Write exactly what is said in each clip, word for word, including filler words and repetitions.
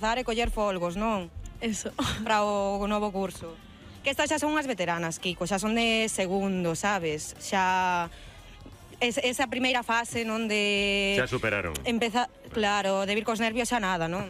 empezar e coller folgos, non? Eso. Para o novo curso. Que estas xa son unhas veteranas, Kiko, xa son de segundo, sabes? Xa... Es, esa primeira fase, non de... Xa superaron. Empeza, claro, de vir cos nervios xa nada, non?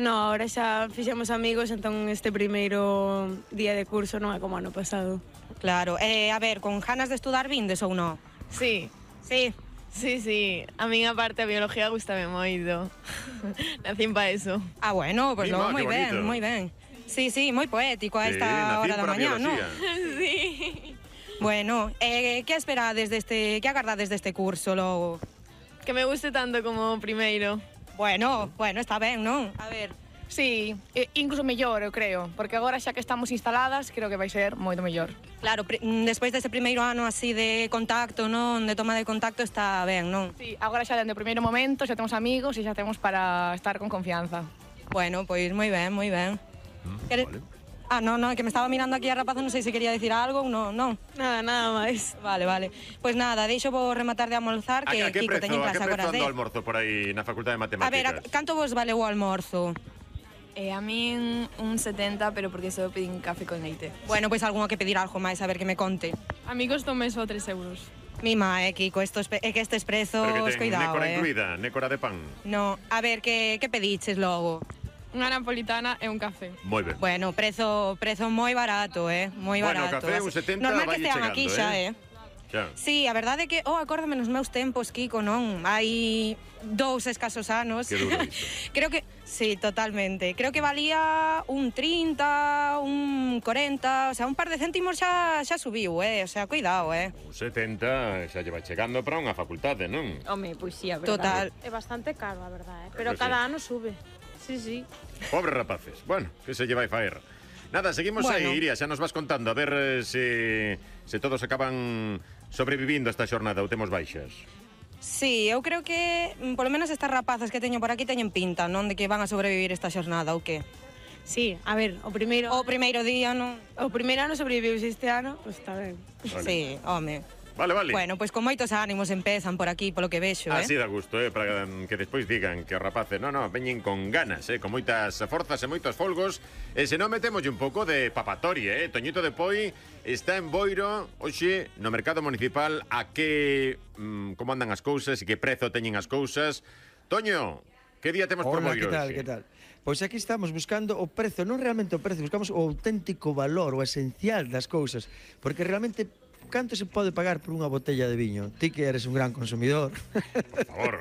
No, ahora xa fixemos amigos, entón este primeiro día de curso non é como ano pasado. Claro, eh, a ver, con ganas de estudar vindes ou non? Sí, Sí. sí, sí. A min, aparte, a biología gustame moito. Nacín pa eso. Ah, bueno, pues Mima, logo moi que ben, bonito. moi ben. Sí, sí, moi poético a Sí, esta nacín hora da para mañá, non? biología. Sí. Bueno, eh, que esperades deste, que agardades deste curso logo? Que me guste tanto como o primeiro. Bueno, bueno, está ben, non? A ver, Sí, e incluso mellor, eu creo, porque agora xa que estamos instaladas, creo que vai ser moito mellor. claro, pri- mm, despois dese primeiro ano así de contacto, non? De toma de contacto está ben, non? Sí, agora xa dende o primeiro momento xa temos amigos e xa temos para estar con confianza. Bueno, pois moi ben, moi ben. Quere- vale. Ah, non, non, que me estaba mirando aquí a rapaza, non sei se quería decir algo ou non, non. Nada, nada máis. Vale, vale. Pois nada, deixo vos rematar de almorzar, A, que a que Kiko prezo, teñen a clase que agora prezo ando de... o almorzo por aí na Facultade de A Matemáticas? ver, a, canto vos vale o almorzo? E a min un setenta, pero porque só pedín café con leite. Bueno, pois algunha que pedir algo máis, a ver que me conte. Amigos tomé só tres euros. Mima, eh, Kiko, estos, pe- é que estes prezos, Pero que ten cuidado, nécora eh. incluída, nécora de pan. No, a ver, que, que pediches logo? Unha napolitana e un café. Moi ben. Bueno, prezo, prezo moi barato, eh, moi Bueno, barato. café un setenta Normal que vai estean chegando, aquí xa, eh. eh. Xa. Sí, a verdade é que, oh, acórdame nos meus tempos, Kiko, non? Hai dous escasos anos. Que duro isto. Creo que, sí, totalmente. Creo que valía un trinta, un cuarenta, o sea, un par de céntimos xa, xa subiu, eh? O sea, cuidado, eh? Un setenta xa lleva chegando para unha facultade, non? Home, pois sí, a Total. É bastante caro, a verdade, eh? Pero Pero sí. cada ano sube. Sí, sí. Pobres rapaces. Bueno, que se lleva a faer. Nada, seguimos Bueno. aí, Iria, xa nos vas contando a ver eh, se, se todos acaban sobrevivindo a esta xornada ou temos baixas. Sí, eu creo que, mm, polo menos estas rapazas que teño por aquí teñen pinta, non? De que van a sobrevivir esta xornada, ou que? Sí, a ver, o primeiro... O primeiro día, non? O primeiro ano sobreviviu este ano, pois está ben. Vale. Sí, home. Vale, vale. Bueno, pois con moitos ánimos empezan por aquí, polo que vexo, eh? Así dá gusto, eh, para que despois digan que os rapaces, no, no, veñen con ganas, eh, con moitas forzas e moitos folgos. E se non metemos un pouco de papatoria, eh. Toñito de Poi está en Boiro, hoxe, no mercado municipal, a que, mm, como andan as cousas e que prezo teñen as cousas. Toño, que día temos por Hola, Boiro que tal, hoxe? que tal? Pois aquí estamos buscando o prezo, non realmente o prezo, buscamos o auténtico valor, o esencial das cousas, porque realmente canto se pode pagar por unha botella de viño? Ti que eres un gran consumidor. Por favor.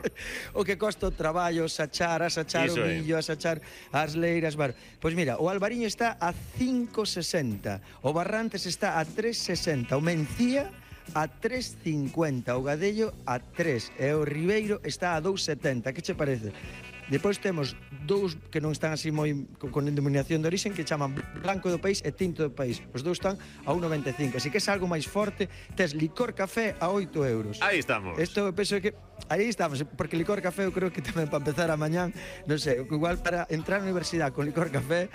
O que costa o traballo, sachar, asachar Iso o é. millo, asachar as leiras, bar. Pois mira, o albariño está a cinco sesenta, o barrantes está a tres sesenta, o mencía a tres cincuenta, o gadello a tres e o ribeiro está a dous setenta. Que che parece? Depois temos dous que non están así moi con, con denominación de origen, que chaman blanco do país e tinto do país. Os dous están a un noventa e cinco. Así que é algo máis forte, tes licor café a oito euros. Aí estamos. Isto eu penso que aí estamos, porque licor café eu creo que tamén para empezar a mañán, non sei, igual para entrar á universidade con licor café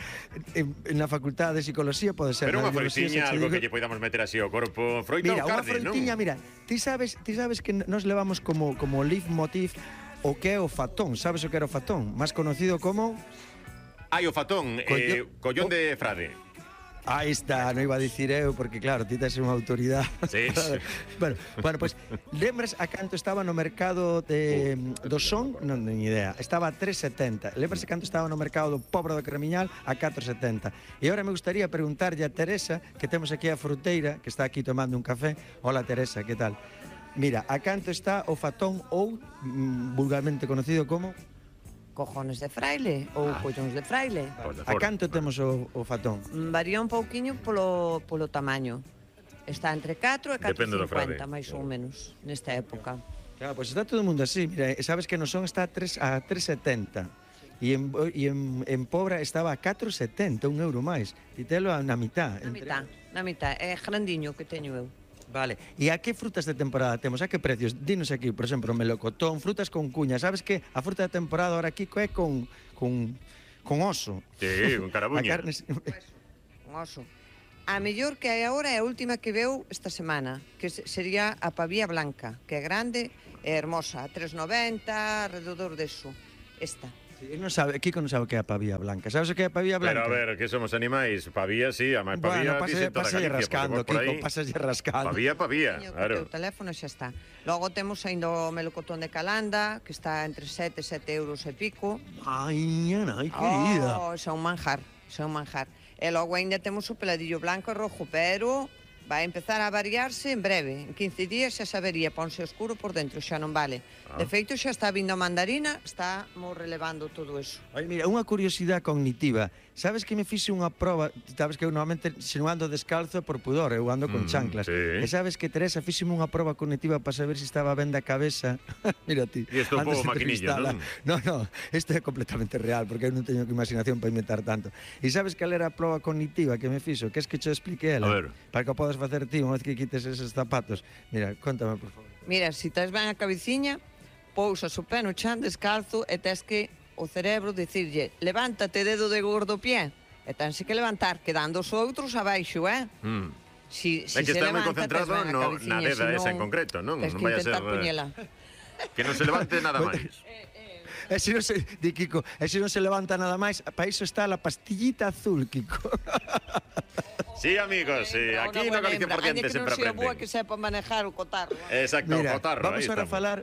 en, en na facultade de psicología pode ser. Pero na unha biología, froitiña, se che algo digo- que lle podamos meter así ao corpo. Froita Mira, ou unha carne, non? froitiña, mira, ti sabes, ti sabes que nos levamos como como leitmotiv o que é o fatón, sabes o que era o fatón? Máis conocido como... Hai o fatón, eh, Collo- collón Oh. de frade. Aí está, non iba a dicir eu, porque claro, ti tes unha autoridade. Sí, sí. bueno, bueno, pois, pues, lembras a canto estaba no mercado de, do son? Non teño idea. Estaba a tres setenta. Lembras a canto estaba no mercado do Pobro do Cremiñal? A catro setenta. E agora me gustaría preguntarlle a Teresa, que temos aquí a fruteira, que está aquí tomando un café. Hola, Teresa, que tal? Mira, a canto está o fatón ou, mm, vulgarmente conocido como... Cojones de fraile ou Ah. collóns de fraile. Pois de A forma. canto temos o, o fatón? Mm, Varía un pouquiño polo, polo tamaño. Está entre catro e catro Depende do frade. cincuenta, máis ou menos, nesta época. Claro, pois está todo o mundo así. Mira, e sabes que no son está a tres a tres setenta. E en, e en, en Pobra estaba a catro setenta, un euro máis. E telo na mitad. Na mitad, na mitad. É grandiño que teño eu. Vale. E a que frutas de temporada temos? A que precios? Dinos aquí, por exemplo, melocotón, frutas con cuña. Sabes que a fruta de temporada ahora aquí é con con con oso. Sí, con A carabuña. carne Un oso. A mellor que hai agora é a última que veu esta semana, que se- sería a pavía blanca, que é grande e hermosa, a tres noventa, alrededor deso. Esta. Non sabe, Kiko non sabe o que é a pavía blanca. Sabes o que é a pavía blanca? Pero a ver, que somos animais, pavía, sí, a máis pavía, Bueno, dicen toda pasa Galicia, rascando, por Kiko, aí. pasalle rascando. Pavía, pavía, Teño claro. O teu teléfono xa está. Logo temos ainda o melocotón de Calanda, que está entre sete e sete euros e pico. Ai, Ana, ai, querida. Oh, xa un manjar, xa un manjar. E logo ainda temos o peladillo blanco e rojo, pero vai empezar a variarse en breve. En quince días xa sabería, ponse oscuro por dentro, xa non vale. Ah. De feito, xa está vindo a mandarina, estamos relevando todo eso. Ai, mira, unha curiosidade cognitiva. Sabes que me fixe unha proba, sabes que eu normalmente se non ando descalzo por pudor, eu ando con Mm, chanclas. sí. E sabes que Teresa fixeme unha proba cognitiva para saber se estaba ben da cabeza. Mira ti. E isto é un antes pouco de maquinillo, entrevistala. No, no, isto é completamente real, porque eu non teño imaginación para inventar tanto. E sabes cal era a proba cognitiva que me fixo? Que es que che explique ela? A ver. Para que o podas facer ti unha vez que quites esos zapatos. Mira, contame, por favor. Mira, se tes ben a cabeciña, pousas o pé no chan descalzo e tes que o cerebro dicirlle levántate dedo de gordo pie e tense que levantar quedando os outros abaixo, eh? Mm. Si, si É que se está moi levanta, tes concentrado ben a no, cabeciña, na deda si esa non, en concreto, non? Tes Non que vai a intentar ser, eh, poñela. que non se levante nada máis. E se non se, di Kiko, e se non se levanta nada máis, para iso está a pastillita azul, Kiko. Sí, amigos, sí, aquí no Galicia por diante sempre Que non sea boa aprenden. que sepa manejar o cotarro. eh. Exacto, Mira, cotarro, vamos aí ahora a estamos. falar.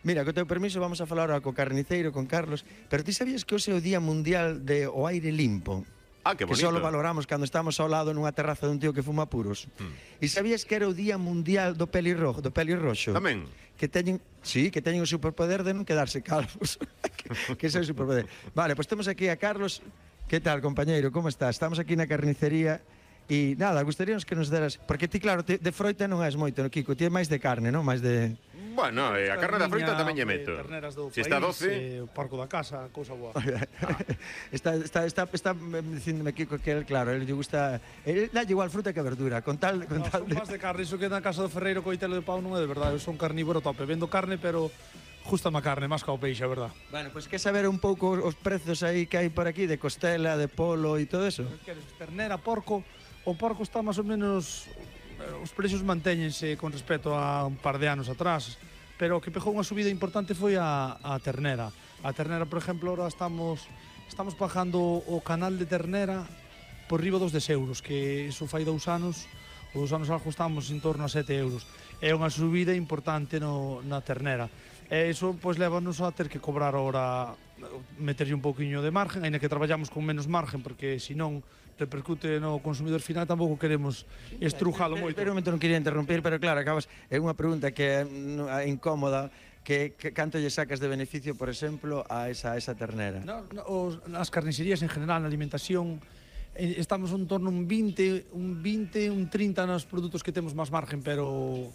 Mira, co teu permiso vamos a falar ahora co carniceiro, con Carlos, pero ti sabías que hoxe é o Día Mundial de o aire limpo? Ah, que Que bonito. só valoramos cando estamos ao lado nunha terraza dun tío que fuma puros. Hmm. E sabías que era o Día Mundial do pelirrojo, do pelirroxo? Tamén. Que teñen, sí, que teñen o superpoder de non quedarse calvos. que, que ese é o superpoder. Vale, pois pues temos aquí a Carlos. Que tal, compañeiro? Como estás? Estamos aquí na carnicería. E nada, gustaríamos que nos deras... Porque ti, claro, te, de froita non és moito, no, Kiko? Ti é máis de carne, non? Máis de... Bueno, eh, a carne da fruta tamén lle meto. Terneras do Se está país, doce, eh, o porco da casa, cousa boa. está, está, está, está dicíndome Kiko que él, claro, él lle gusta... Él dalle igual fruta que verdura, con tal... Con No, tal son máis de carne, iso que na casa do Ferreiro coitelo de pau non é de verdade, eu son carnívoro tope, vendo carne, pero justa a carne, máis que ao peixe, a verdad. Bueno, pois pues, que saber un pouco os prezos aí que hai por aquí de costela, de polo e todo eso. Queres ternera, porco, o porco está máis ou menos, os precios mantéñense con respecto a un par de anos atrás, pero o que pegou unha subida importante foi a, a ternera. A ternera, por exemplo, ahora estamos estamos pagando o canal de ternera por riba dos dez euros, que iso fai dous anos, os dous anos algo estamos en torno a sete euros. É unha subida importante no, na ternera. E iso pois lévanos a ter que cobrar ahora, meterlle un pouquiño de margen, aínda que traballamos con menos margen, porque senón repercute no consumidor final, tampouco queremos estrujalo moito. Pero un momento non quería interrumpir, pero claro, acabas é unha pregunta que é mm, incómoda, que, que canto lle sacas de beneficio, por exemplo, a esa, a esa ternera? No, no, os, as carnicerías en general, na alimentación, eh, estamos en torno a un vinte, un vinte, un trinta nos produtos que temos máis margen, pero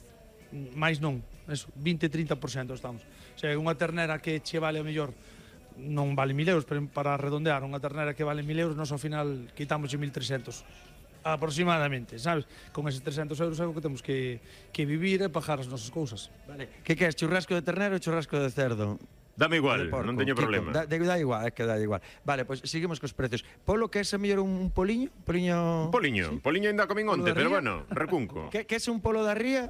máis non, eso, vinte, trinta por cento estamos. O sea, unha ternera que che vale a mellor non vale mil euros, pero para redondear, unha ternera que vale mil euros, nós ao final quitamos mil trescentos aproximadamente, sabes? Con eses trescentos euros é o que temos que, que vivir e pagar as nosas cousas. Vale. Que queres, churrasco de ternero ou churrasco de cerdo? dame igual, De porco, non teño Kiko. problema. Da, de, da igual, é que dá igual. Vale, pois pues, seguimos cos precios. Polo, que é ese mellor un poliño? Poliño... Un poliño, Sí. poliño ainda comín Polo onte, da pero ría? bueno, recunco. Que, que é un polo da ría?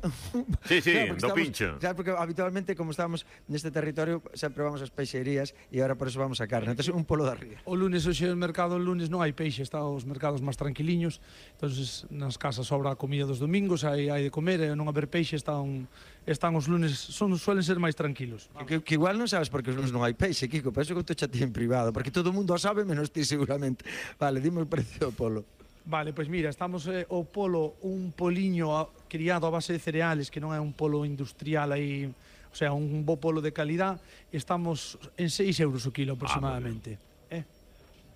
Sí, sí, porque do estamos- pincho. Claro, porque habitualmente, como estamos neste territorio, sempre vamos ás peixerías e agora por eso vamos a carne. Entón, un polo da ría. O lunes, hoxe o mercado, o lunes non hai peixe, está os mercados máis tranquiliños, entonces nas casas sobra a comida dos domingos, hai, hai de comer, e non haber peixe, están, están os lunes, son, suelen ser máis tranquilos. Que, que igual non sabes porque os lunes non hai peixe, Kiko, por eso que te chatei en privado, porque todo o mundo o sabe menos ti seguramente. Vale, dime o precio do polo. Vale, pois mira, estamos eh, o polo, un poliño a, criado a base de cereales, que non é un polo industrial aí, o sea, un bo polo de calidad, estamos en seis euros o kilo aproximadamente. Ah, eh?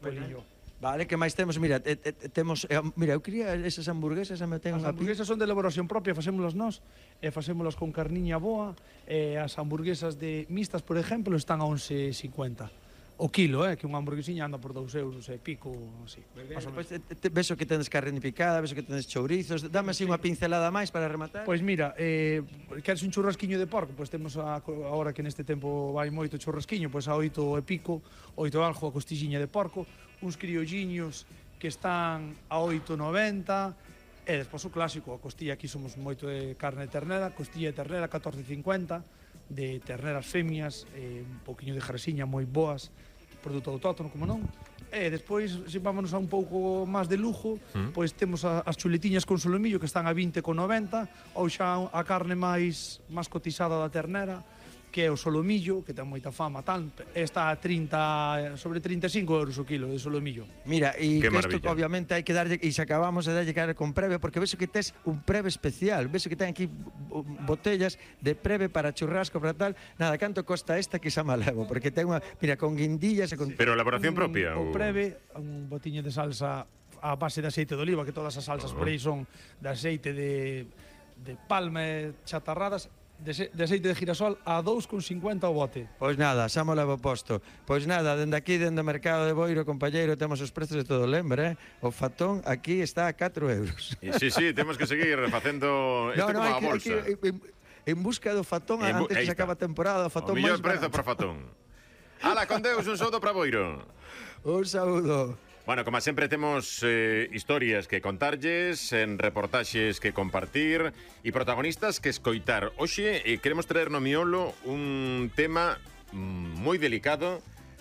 Poliño. Vale, que máis temos? Mira, te, te, temos, eh, mira, eu quería esas hamburguesas, me ten As unha hamburguesas son de elaboración propia, facémolas nós, e facémolas con carniña boa, e as hamburguesas de mixtas, por exemplo, están a once cincuenta. O kilo, eh, que unha hamburguesiña anda por dous euros e pico, así. Más o menos. Pois, te, te, vexo que tenes carne picada, vexo que tenes chourizos. Dame así unha pincelada máis para rematar. Pois mira, eh, queres un churrasquiño de porco? Pois temos a, agora que neste tempo vai moito churrasquiño, pois a oito e pico, oito algo a costixiña de porco, uns criolliños que están a oito noventa, e despois o clásico, a costilla, aquí somos moito de carne de ternera, costilla de ternera catorce cincuenta, de terneras femias, eh, un poquinho de jaresiña moi boas, produto autóctono, como non. E despois, se vámonos a un pouco máis de lujo, Mm. pois temos a, as chuletiñas con solomillo que están a vinte con noventa, ou xa a carne máis máis cotizada da ternera, que é o solomillo, que ten moita fama, tal, está a trinta, sobre trinta e cinco euros o kilo de solomillo. Mira, e Qué que isto maravilla. obviamente hai que darlle, e se acabamos de darlle cara con preve, porque ves que tes un preve especial, ves que ten aquí bo- botellas de preve para churrasco, para tal. Nada, canto costa esta que xa malevo, porque ten unha, mira, con guindillas e con... Pero elaboración propia? O ou- preve, un botiño de salsa a base de aceite de oliva, que todas as salsas por aí son de aceite de, de palma e chatarradas, de, se- de aceite de girasol a dous con cincuenta o bote. Pois nada, xa mo levo posto. Pois nada, dende aquí, dende o mercado de Boiro, compañeiro, temos os prezos de todo, lembra, eh? O fatón aquí está a catro euros. E sí, sí, temos que seguir facendo isto como a hai que, hai bolsa. que, en, en busca do fatón En bu- antes aí que se está. acaba a temporada, o O fatón millor máis prezo barato. para fatón. Ala, con Deus, un saúdo para Boiro. Un saúdo. Bueno, como sempre temos eh, historias que contarlles, en reportaxes que compartir e protagonistas que escoitar. Hoxe eh, queremos traer no miolo un tema mm, moi delicado,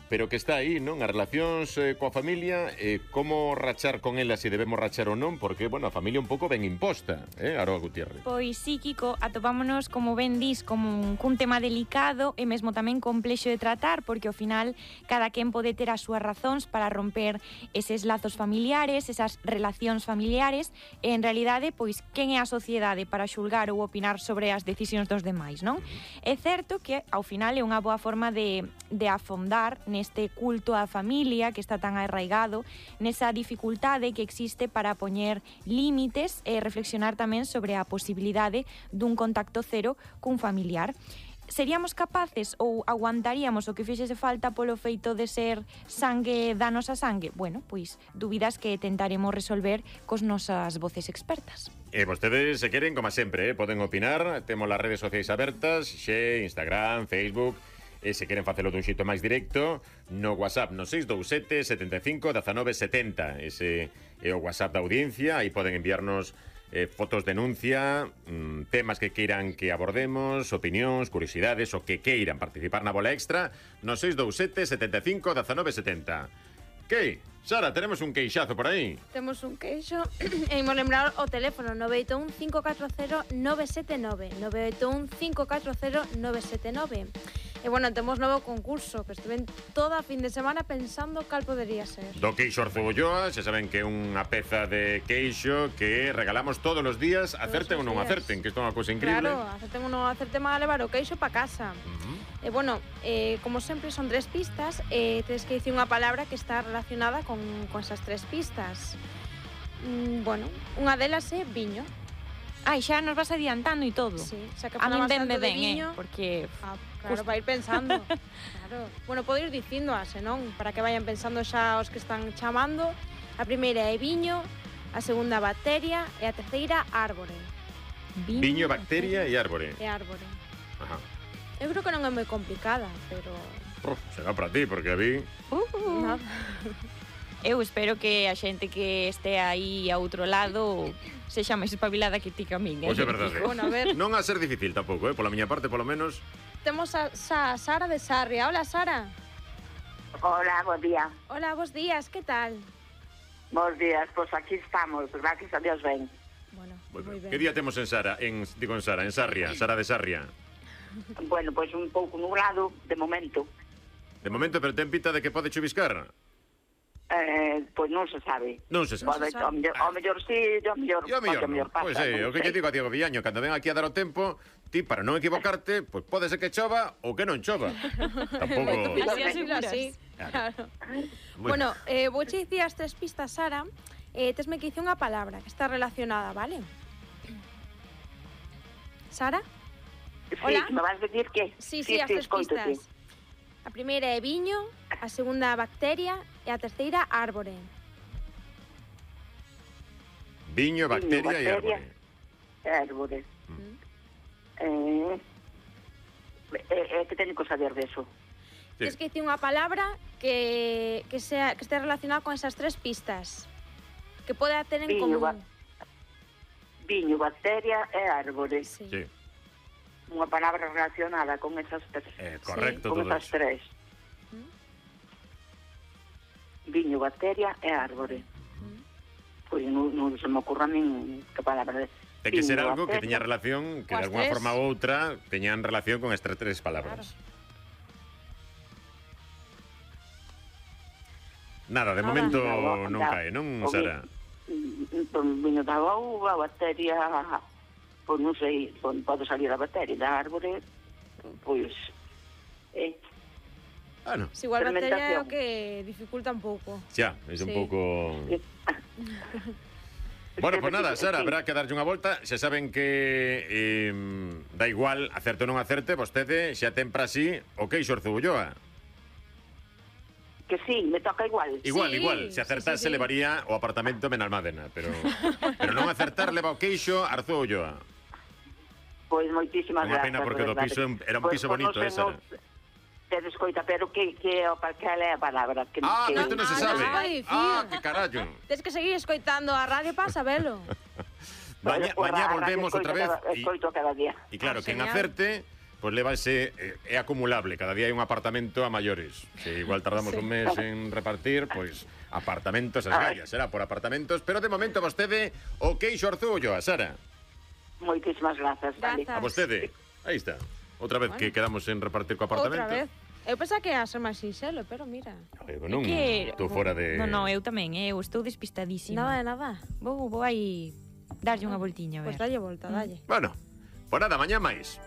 pero que está aí, non? As relacións eh, coa familia, eh, como rachar con elas, se debemos rachar ou non, porque, bueno, a familia un pouco ben imposta, eh, Aroa Gutiérrez. Pois sí, Kiko, atopámonos, como ben dis, como un, cun tema delicado e mesmo tamén complexo de tratar, porque ao final cada quen pode ter as súas razóns para romper eses lazos familiares, esas relacións familiares, e en realidade, pois, quen é a sociedade para xulgar ou opinar sobre as decisións dos demais, non? É certo que, ao final, é unha boa forma de, de afondar neste culto á familia que está tan arraigado, nesa dificultade que existe para poñer límites e reflexionar tamén sobre a posibilidade dun contacto cero cun familiar. Seríamos capaces ou aguantaríamos o que fixese falta polo feito de ser sangue da nosa sangue? Bueno, pois dúbidas que tentaremos resolver cos nosas voces expertas. E vostedes, se queren, como sempre, eh, poden opinar. Temos as redes sociais abertas, xe, Instagram, Facebook. E se queren facelo dun xeito máis directo, no WhatsApp no seis dous sete, sete cinco, uno nove sete cero. Ese é o WhatsApp da audiencia. Aí poden enviarnos eh, fotos, denuncia, mm, temas que queiran que abordemos, opinións, curiosidades, o que queiran participar na bola extra no seis dous sete, sete cinco, uno nove sete cero. Que? Sara, tenemos un queixazo por aí. Temos un queixo e imos lembrar o teléfono nove oito un, cinco catro cero, nove sete nove nove oito un, cinco catro cero, nove sete nove. E bueno, temos novo concurso que estuve toda a fin de semana pensando cal podería ser. Do queixo Arcebolloa, xa saben que é unha peza de queixo que regalamos todos os días, acerten ou non días. acerten, que isto é unha cousa increíble. Claro, acerten ou non acerten a levar o queixo pa casa. Uh-huh. E bueno, eh, como sempre son tres pistas e eh, tedes que dicir unha palabra que está relacionada con, con esas tres pistas. Mm, bueno, unha delas é viño. Ai, xa nos vas adiantando e todo. Sí, xa que A min falabas venme tanto de ben, viño, eh, porque ah, claro, para ir pensando. Claro. Bueno, podo ir dicindo a senón, para que vayan pensando xa os que están chamando. A primeira é viño, a segunda bacteria e a terceira árbore. Viño, bacteria e árbore. E árbore. Ajá. Eu creo que non é moi complicada, pero Uf, será para ti, porque a mí... Uh, nada. Eu espero que a xente que este aí a outro lado sexa máis espabilada que ti que a min, eh? Pois é verdade. Bueno, a ver, Non a ser difícil tampouco, eh? Pola miña parte, polo menos. temos a, a Sara de Sarria. Hola, Sara. Hola, buen día. Hola, bos días, que tal? Bos días, pues aquí estamos, gracias a Dios ben. Bueno, Bueno, moi ben. que día temos en Sara? En, digo en Sara, en Sarria, Sara de Sarria. Bueno, pues un pouco nublado, de momento. De momento, pero ten pinta de que pode chuviscar. Eh, pois non se sabe. Non se sabe. Pode, ao mellor, ao mellor sí, ao mellor, E o mellor, ao mellor non. pasa. Pois é, non o que lle sei. digo a Diego Villaño, cando ven aquí a dar o tempo, ti, para non equivocarte, pois pode ser que chova ou que non chova. Tampouco... Así, así, así. Claro. Bueno, eh, vou che dicir as tres pistas, Sara. Eh, tesme que dicir unha palabra que está relacionada, vale? Sara? Sí, Hola. me vas decir que... Sí, sí, as tres escoito, pistas. A primeira é viño, a segunda bacteria e a terceira árbore. Viño, bacteria, Viño, e bacteria. árbore. Árbore. Eh, eh, eh, que teño que saber deso? Sí. Tens que dicir unha palabra que, que, sea, que esté relacionada con esas tres pistas. Que poda ter en Viño, común. ba- Viño, bacteria e árbore. Sí. Sí, Unha palabra relacionada con esas tres. eh, correcto con todo esas eso. tres. viño, bacteria e árbore. Pois non, non se me ocurra a min que palabra de... Ten que ser viño, algo que bacteria. teña relación, que de Coas alguna tres. forma ou outra teñan relación con estas tres palabras. Nada, de Nada, momento nada, non nada. cae, non, O Sara? vi- o viño da uva, bacteria, pois non sei, pois pode salir da bacteria, da árbore, pois... Eh, Ah, no. Si igual bacteria é Fermentación. o que dificulta un pouco. Xa, é un Sí. pouco... Bueno, pues nada, Sara, habrá que darlle unha volta. Xa saben que eh, da igual, acerte ou non acerte, vostede xa ten para sí o queixo Arzubulloa. que sí, me toca igual. Igual, Sí, igual, se sí, acertase sí, sí. levaría o apartamento Benalmádena, pero pero non acertar leva o queixo Arzubulloa. Pois moitísimas Unha gracias. pena porque de do verdade. piso era un Pois- piso pois non bonito, sei, eh, Sara. non- Te descoita, pero que, que o pa- cal é a palabra? Que, Ah, que, isto non se Ah, sabe. non, ai, Ah, fío. que carallo. Tens que seguir escoitando a radio para sabelo. Maña, Pois, mañá a radio volvemos escoito outra vez. cada- e- Escoito cada día. E claro, Ah, quen genial. acerte, pois levase, eh, é acumulable, cada día hai un apartamento a maiores. Se igual tardamos un mes en repartir, pois apartamentos as Ai. gallas, será por apartamentos, pero de momento vostede o queixo Arzubullo, a Sara. Moitísimas grazas. vale. Grazas. A vostede. Aí está. Outra vez que quedamos en repartir co apartamento. Outra vez. Eu pensaba que ia ser máis sinxelo, pero mira. Oye, non, que- tú fora de... No, no, eu tamén, eh, eu estou despistadísima. Nada de nada. Vou, vou aí darlle unha voltiña, a ver. Pois dalle volta, dalle. Bueno, pues nada, mañá máis.